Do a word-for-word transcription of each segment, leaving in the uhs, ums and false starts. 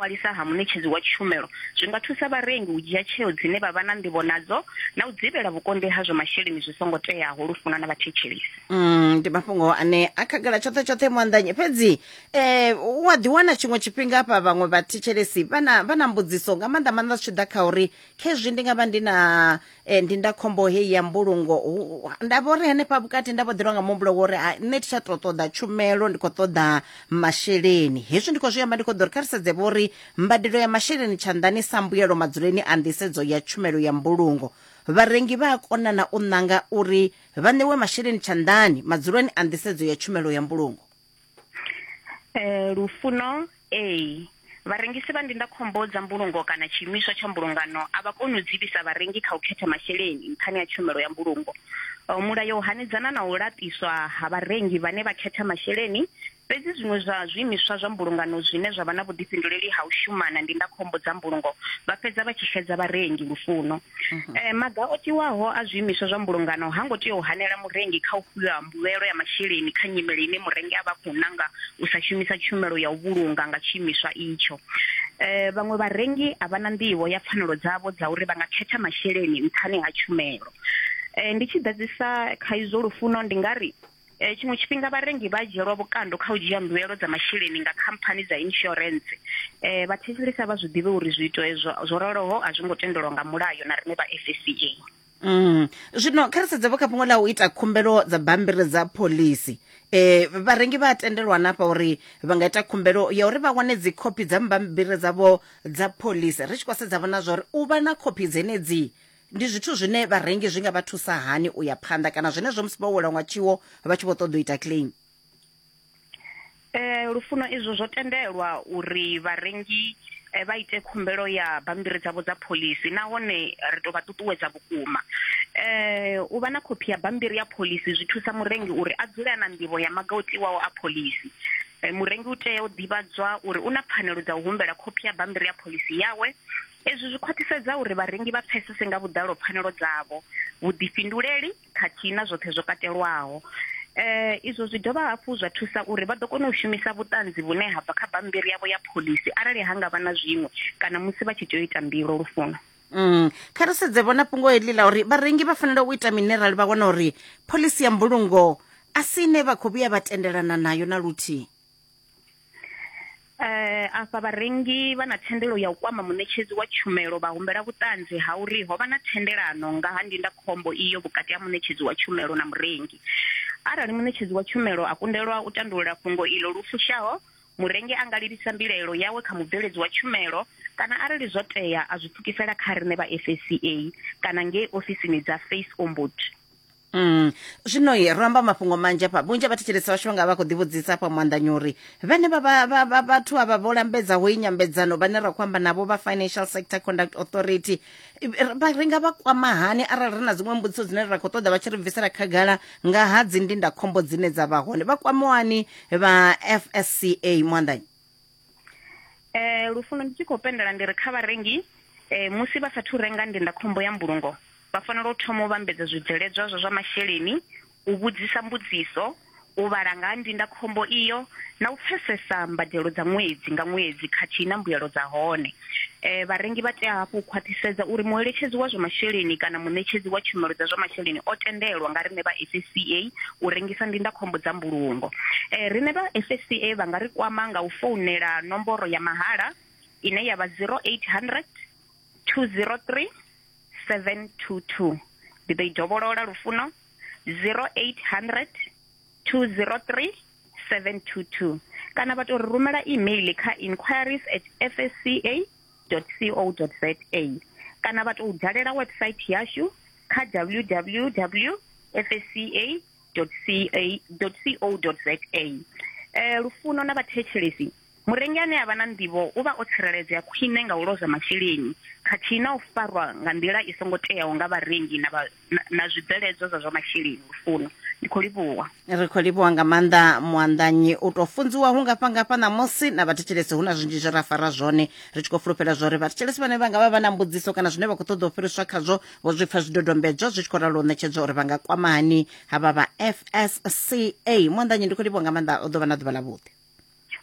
ḓiṅwalisa ha muṋetshedzi wa tshumelo zwi nga thusa vharengi u dzhia tsheo dzine vha vha na nḓivho nadzo na u dzivhela vhukonḓi ha zwa masheleni zwi songo teaho. Lufuno na vhathetshelesi. Mm, ndi mafhungo ane a khagala tshoṱhe tshoṱhe muanḓanyi, fhedzi eh u a ḓiwana tshiṅwe tshifhinga hafha vhaṅwe vhathetshelesi vha na vha na mbudziso nga maanḓa maanḓa zwi tshi ḓa kha uri khezwi ndi nga vha ndi na eh, ndindakhombo heyi ya mbulungo, hu- nda vho ri henefha vhukati nda vho ḓelwa nga muhumbulo wo uri ha, nṋe thi tsha tou ṱoḓa tshumelo, ndi khou ṱoḓa masheleni. Hezwi ndi khou zwi amba ndi khou ḓo ri kha ri sedze vho uri mbadelo ya masheleni tshanḓani sa mbuyelo madzuleni a nḓisedzo ya tshumelo ya mbulungo, vharengi vha a kona na u ṋanga uri vha ṋewe masheleni tshanḓani madzuloni a nḓisedzo ya tshumelo ya mbulungo. Eh, Lufuno, ee, vharengisi vha ndindakhombo dza mbulungo kana tshiimiswa tsha mbulungano a vha koni u dzivhisa vharengi kha u khetha masheleni nṱhani ha tshumelo ya mbulungo. Eh, mulayo u hanedzana na u laṱiswa ha vharengi vhane vha khetha masheleni, fhedzi zwiṅwe zwa zwiimiswa zwa mbulungano zwine zwa vha na vhuḓifhinduleli ha u shumana ndindakhombo dza mbulungo vha fhedza vha tshi xedza vharengi. Lufuno, eh, maga o tiwaho a zwiimiswa zwa mbulungano ha ngo tea u hanela murengi kha u fhiwa mbuyelo ya masheleni kha nyimele ine murengi a vha khou nanga u sa shumisa tshumelo ya u vhulunga nga tshiimiswa itsho. Eh, vhaṅwe vharengi a vha na nḓivho ya pfanelo dzavho dza uri vha nga khetha masheleni nṱhani ha tshumelo. Eh, ndi tshi ḓadzisa kha izwo, Lufuno, ndi nga ri eh, tshiṅwe tshifhinga vharengi vha dzhielwa vhukando kha u dzhia mbuelo dza masheleni nga khamphani dza insurance. Eh, vhathetshelesa vha zwi ḓivhe uri zwiito ezwo zwo raloho a zwi ngo tendelwa nga mulayo na riṋe vha F S C A. Mm. Zwino kha ri sedze vho kha fhungo ḽa u ita khumbelo dza bammbiri dza phoḽisi, eh vharengi vha a tendelwa nafha uri vha nga ita khumbelo ya uri vha wane dzi khophi dza bammbiri dzavho dza phoḽisi. Ri tshi khou sedza vhona zwa uri u vha na khophi dzenedzi ndi zwithu zwine vharengi zwi nga vha thusa hani u ya phanḓa, kana zwenezwo musi vho welwa nga tshiwo vha tshi vho ṱoḓa u ita claim. Eh, Lufuno, izwo zwo tendelwa uri vharengi eh, vha ite khumbelo ya bammbiri dzavho dza phoḽisi, nahone ri tou vha ṱuṱuwedza vhukuma. Eh, u vha na khophi ya bammbiri ya phoḽisi zwi thusa murengi uri a dzule a na nḓivho ya maga o tiwaho a phoḽisi. Eh, murengi u tea u ḓivhadzwa uri u na pfanelo dza u humbela khophi ya bammbiri ya phoḽisi yawe. Ezwi zwi khwaṱhisedza uri vharengi vha pfesese nga vhuḓalo pfanelo dzavho, vhuḓifhinduleli khathihi na zwoṱhe zwo katelwaho. Eh, izwo zwi dovha hafhu zwa thusa uri vha ḓo kona u shumisa vhuṱanzi vhune ha bva kha bammbiri yavho ya phoḽisi arali ha nga vha na zwiṅwe kana musi vha tshi tea u ita mbilo. Lufuno. Mm. Kha ri sedze vhona fhungo heḽi ḽa uri vharengi vha fanela u ita mini arali vha wana uri phoḽisi ya mbulungo a si ine vha khou vhuya vha tendelana nayo na luthihi. Eh, afha vharengi vha na thendelo ya u kwama muṋetshedzi wa tshumelo vha humbela vhuṱanzi ha uri ho vha na thendelano nga ha ndindakhombo iyo vhukati ha muṋetshedzi wa tshumelo na murengi. Arali muṋetshedzi wa tshumelo a kundelwa u tandulula fhungo ilo lu fushaho, murengi a nga livhisa mbilaelo yawe kha mubveledzi wa tshumelo, kana arali zwo tea a zwi pfukisela kha riṋe vha F S C A kana ngei ofisini dza Face Ombud. Mm. Zwino ye ro amba mafhungo manzhi afha, vhunzhi ha vhathetshelesi vhashu vha nga vha khou ḓivhudzisa afha muanḓanyi uri vhane vha vha vha vha vhathu avha vho lambedzaho iyi nyambedzano vhane ra khou amba navho vha Financial Sector Conduct Authority, vha ri nga vha kwama hani arali ri na dziṅwe mbudziso dzine ra khou ṱoḓa vha tshi ri bvisela khagala nga ha dzi ndindakhombo dzine dza vha hone, vha kwamiwani vha F S C A muanḓanyi? Eh, Lufuno, ndi tshi khou pendela ndi ri kha vharengi eh, musi vha sathu renga ndindakhombo ya mbulungo vha fanela u thoma u vhambedza zwibveledzwa zwa zwa masheleni, u vhudzisa mbudziso, u vhala nga ha ndindakhombo iyo na u pfesesa mbadelo dza ṅwedzi nga ṅwedzi khathihi na mbuyelo dza hone. Eh, vharengi vha tea hafhu u khwaṱhisedza uri mueletshedzi wa zwa masheleni kana muṋetshedzi wa tshumelo dza zwa masheleni o tendelwa nga riṋe vha F S C A u rengisa ndindakhombo dza mbulungo. Eh, riṋe vha F S C A vha nga ri kwama nga u founela nomboro ya mahala ine ya vha zero eight hundred two zero three seven two two. Ndi ḓo i dovholola, Lufuno, zero eight hundred two zero three seven two two, kana vha tou ri rumela email kha inquiries at f s c a dot co dot z a, kana vha tou dalela website yashu kha w w w dot f s c a dot co dot z a. Eh, Lufuno na vhathetshelesi, murengi ane a vha na nḓivho u vha o tsireledzea khwine nga u lozwa masheleni khathihi na u farwa nga nḓila i songo teaho nga vharengi na, vha, na, na zwibveledzwa zwa zwa masheleni. Lufuno, ndi khou livhuwa. Ri khou livhuwa nga maanḓa muanḓanyi, u tou funziwa hu ngafha ngafha ṋamusi na vhathetshelesi hu na zwinzhi zwe ra fara zwone. Ri tshi khou fulufhela zwa uri vhathetshelesi vhane vha nga vha vha na mbudziso kana zwine vha khou ṱoḓa u fhiriswa khazwo vho zwi pfa zwidodombedzwa zwi tshi khou ralo u ṋetshedzwa uri vha nga kwama hani havha vha F S C A. Muanḓanyi, ndi khou livhuwa nga maanḓa, u ḓo vha na ḓuvha ḽavhuḓi.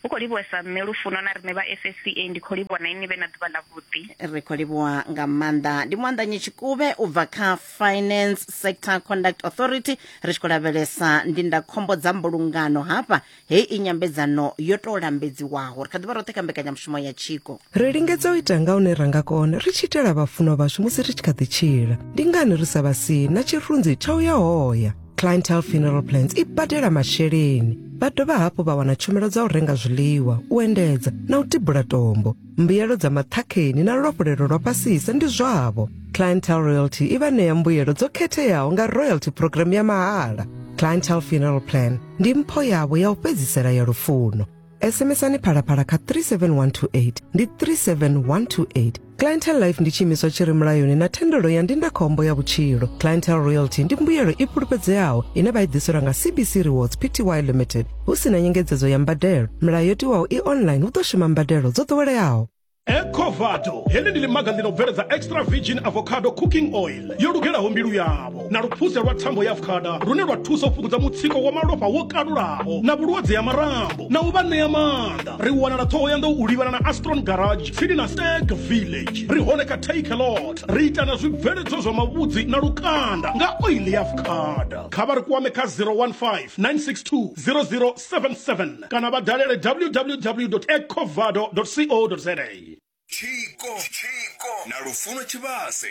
Hu khou livhuwesa nṋe Lufuno na riṋe vha F S C A, ndi khou livhuwa na ini vhe na ḓuvha ḽa vhuḓi. Ri khou livhuwa nga maanḓa. Ndi Muandanyi Tshikuvhe u bva kha Finance Sector Conduct Authority, ri tshi khou lavhelesa ndindakhombo dza mbulungano hafha. Heyi i nyambedzano yo tou lambedziwaho, ri kha ḓivha roṱhe kha mbekanyamushumo ya Tshiko. Ri lingedza u ita nga hune ra nga kona ri tshi itela vhafunwa vhashu musi ri tshi kha ḓi tshila. Ndi ngani ri sa vha sii na tshirunzi tsha u ya hoya? Clientele Funeral Plans i badela masheleni, vha dovha hafhu vha wana tshumelo dza u renga zwiḽiwa, u endedza na u tibula tombo. Mbuyelo dza maṱhakheni na luafhulelo lwa fhasisa ndi zwavho. Clientele Royalty i vha ṋea mbuyelo dzo khetheaho nga royalty program ya mahala. Clientele Funeral Plan ndi mpho yavho ya u fhedzisela ya lufuno. S M S-ani Phalaphala kha three seven one two eight, ndi three seven one two eight. Clientele Life ndi tshiimiswa tshi re mulayoni na thendelo ya ndindakhombo ya vhutshilo. Clientele Royalty ndi mbuyelo i fhulufhedzeaho ine vha i ḓiselwa nga C B C Rewards P T Y Limited, hu si na nyengedzedzo ya mbadelo. Milayo yo tiwaho i online, hu ḓo shuma mbadelo dzo ḓoweleaho. Ecovado heḽi ndi ḽimaga ḽi no bveledza extra virgin avocado cooking oil yo lugelaho mbilu yavho, na luphuse lwa thambo ya avocado lune lwa thusa u fhungudza mutsiko wa malofha wo kalulaho na vhulwadze ha marambo na u vha ṋea maanḓa. Ri wanala Ṱhohoyanḓou u livhana na Astron Garage tsini na Stag Village. Ri hone kha Take a Lot. Ri ita na zwibveledzwa zwa mavhudzi na lukanda nga oil ya avocado. Kha vha ri kwame kha zero one five nine six two zero zero seven seven kana vha dalele w w w dot ecovado dot co dot za. Tshiko, Tshiko na Lufuno Tshivhase.